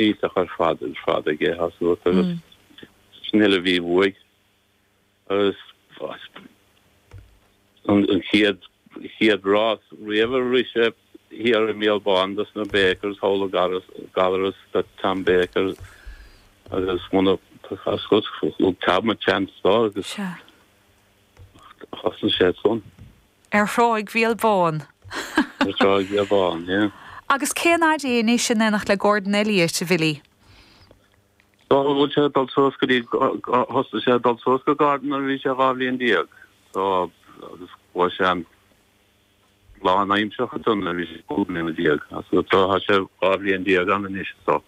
Iontach ar fad ar fad aige tá a fhios agat agus sin uile a bhí uaidh agus an chéad chéad rás riamh a rith sé thiar i mBéal Bán dos na Bakers thall i Gallarus do Tom Baker agus muna tá a fhios agat thug Tom an chance dó agus thosnaigh sé ansan. Ar Thráigh Bhéal Bán. Ar Thráigh Bhéal Bán, yeah. Agus cén fhaid é anois in éineacht le Gordon Elliott, a Bhilly? So bhfuil sé ag dul suas go dtí, thosaigh sé ag dul suas go Gordon nuair a bhí sé 12 bhliain. So agus chuaigh sé an lánaimseartha ansan nuair a bhí sé 15 mbliana. So tá sé 12 bhliain ann anois so.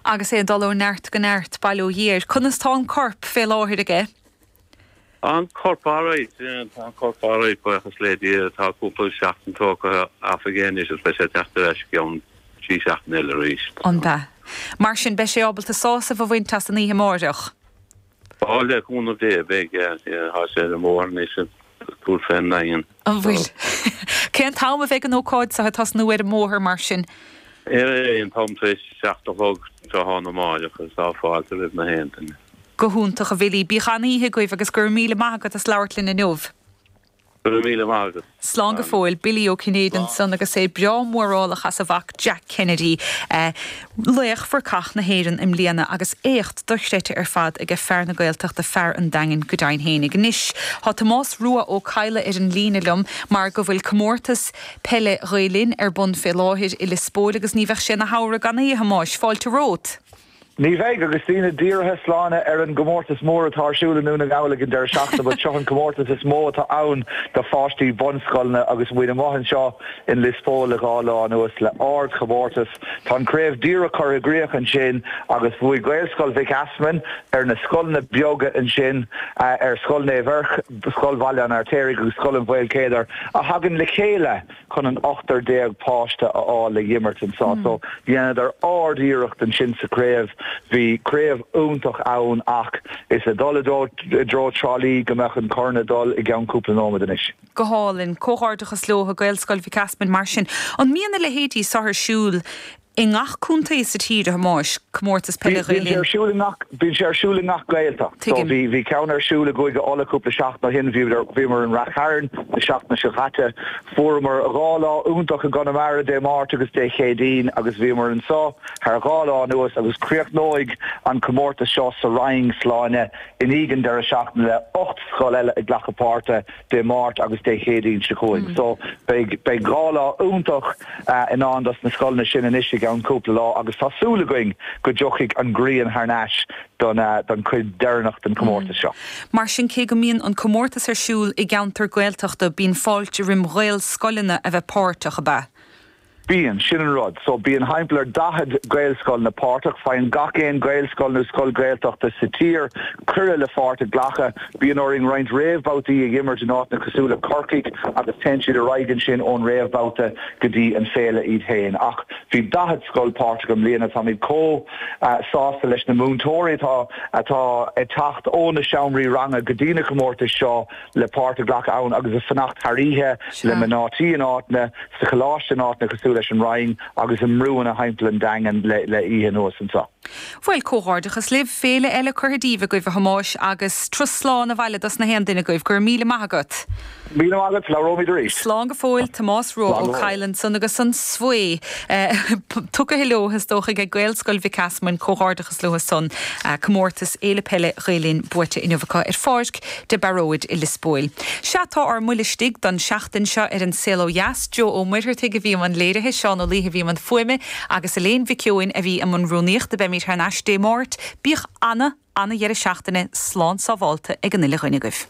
Agus é ag dul ó neart go neart, bail ó Dhia air. Conas tá an corp fé láthair aige? Tá an corp alright, tá an corp alright, buíochas le Dia. Tá cúpla seachtain tógtha off aige anois agus beidh sé ag teacht ar ais i gceann trí seachtaine eile arís. An ea? Mar sin, beidh sé ábalta sásamh a bhaint as an oíche amáireach? Á, le cúnamh Dé, beidh, yeah, yeah, tá sé ar an mbóthar anois ag tabhairt fén nDaingean. An bhfuil? Cén t-am a bheidh an ócáid seo ag tosnú ar an mbóthar mar sin? Ar an t-am tar éis 7 a chlog tráthnóna amáireach agus tá fáilte roimh na haon duine. Go hiontach, a Bhilly. Bíodh an-oíche agaibh agus go raibh míle maith agat as labhairt linn inniu. Go raibh míle maith agat. Slán go fóill. Billy Ó Cinnéide ansan agus é breá mórálach as a mhac Jack Kennedy, laoch Bhurcach na hÉireann i mbliana agus éacht dochreidte ar fad aige fear na Gaeltachta, fear an Daingin go deimhin fhéinig. Anois tá Tomás Rua Ó Cadhla ar an líne liom mar go bhfuil comórtas peile Ghael Linn ar bun fé láthair i Lios Póil agus ní bheadh sé ina shamhradh gan é, a Thomáis. Fáilte romhat. Ní bheidh, agus daoine dírithe Sláine ar an gcomórtas mór atá ar siúl i nDún na nGall ag an deireadh seachtaine, but seo an comórtas is mó atá ann do pháistí bunscoileanna agus muid amuigh anseo in Lios Póil le dhá lá anuas le ardchomórtas. Tá an craobh díreach curtha i gcríoch ansin agus bhuaigh Gaelscoil Mhic Easmainn ar na scoileanna beaga ansin, ar Scoil Naomh Eirc, Scoil Bhaile an Fheirtéaraigh agus Scoil an Mhaoilchéadair a thagann le chéile. chun an ochtar déag páiste a fháil le dh'imirt anso. So, dheineadar ard-iarracht ansin sa chraobh. Bhí craobh iontach ann ach is ag dul i dtreo Trá Lí go mbeadh an corn ag dul i gceann cúpla nóiméad anois. Go hálainn. Comhghairdeachas leo, Gaelscoil Mhic Easmainn mar sin. An mbíonn a leithéidí so ar siúl I ngach contae sa tír, a Thomáis, comórtas peile Ghael Linn. Bíonn sé ar siúl i ngach, bíonn sé ar siúl i ngach Gaeltacht. So Tuigim. bhí, bhí ceann ar siúl i gCúige Uladh cúpla seachtain ó shin, bhíodar, bhíomar in Rath Chairn na seachtaine seo chaite. Fuaireamar dhá lá iontach i gConamara Dé Máirt agus Dé Céadaoin agus bhíomar anso thar dhá lá anuas agus críochnóidh an comórtas seo sa Rinn, Sláine, i ndiaidh an deireadh seachtaine le 8 scoil eile ag glacadh páirte. Dé Máirt agus Dé Céadaoin seo chugainn. So beidh beidh dhá lá iontach i ndán dos na scoileanna sin anois i gceann cúpla lá agus tá súil againn go dtiocfaidh an ghrian thar n-ais don don chuid deireanach den chomórtas seo. Mar sin cé go mbíonn an comórtas ar siúl i gceantar Gaeltachta bíonn fáilte roim Ghaelscoileanna a bheith páirteach, ab ea? Bíonn, sin an rud. So bíonn thimpeall ar 40 Gaelscoileanna páirteach. Faigheann gach aon Ghaelscoil nó scoil Ghaeltachta sa tír cuireadh le pháirt a ghlacadh. Bíonn orainn roinnt réamhbhabhtaí a dh'imirt in áiteanna cosúil le Corcaigh agus téann siad ar aghaidh ansin ón réamhbhabhta go dtí an féile iad féin. Ach bhí 40 scoil páirteach i mbliana. Táimid chomh sásta leis na múinteoirí atá atá ag teacht ó na seomraí ranga go dtí na comórtais seo. le páirt a ghlacadh ann agus ag fanacht thar oíche le mná tí in áiteanna, sa choláiste in áiteanna cosúil leis an Rinn agus i mbrúanna thimpeall an Daingin le le oíche anuas anseo. Bhuel, comhghairdeachas libh, féile eile curtha díbh agaibh, a Thomáis, agus turas slán abhaile dos na haon duine agaibh. Go raibh míle maith agat. Míle maith agat, labhróimid arís. Slán go fóill, Tomás Rua Ó Cadhla ansan agus an svae tugtha leo is dócha ag Gaelscoil Mhic Easmainn, comhghairdeachas leo san, comórtas Fhéile Peile Ghael Linn buaite inniu acu ar Pháirc de Barróid i Lios Póil. Sea, tá ár mbuille istigh don seachtain seo ar An Saol Ó Dheas. Joe Ó Muircheartaigh a bhí i mbun léirithe, Seán Ó Laoithe a bhí i mbun fuaime agus Elaine Mhic Eoin a bhí i mbun rúnaíochta. Beimid thar n-ais Dé Máirt. Bíodh ana, ana-dheireadh seachtaine slán sábhálta ag an uile dhuine agaibh.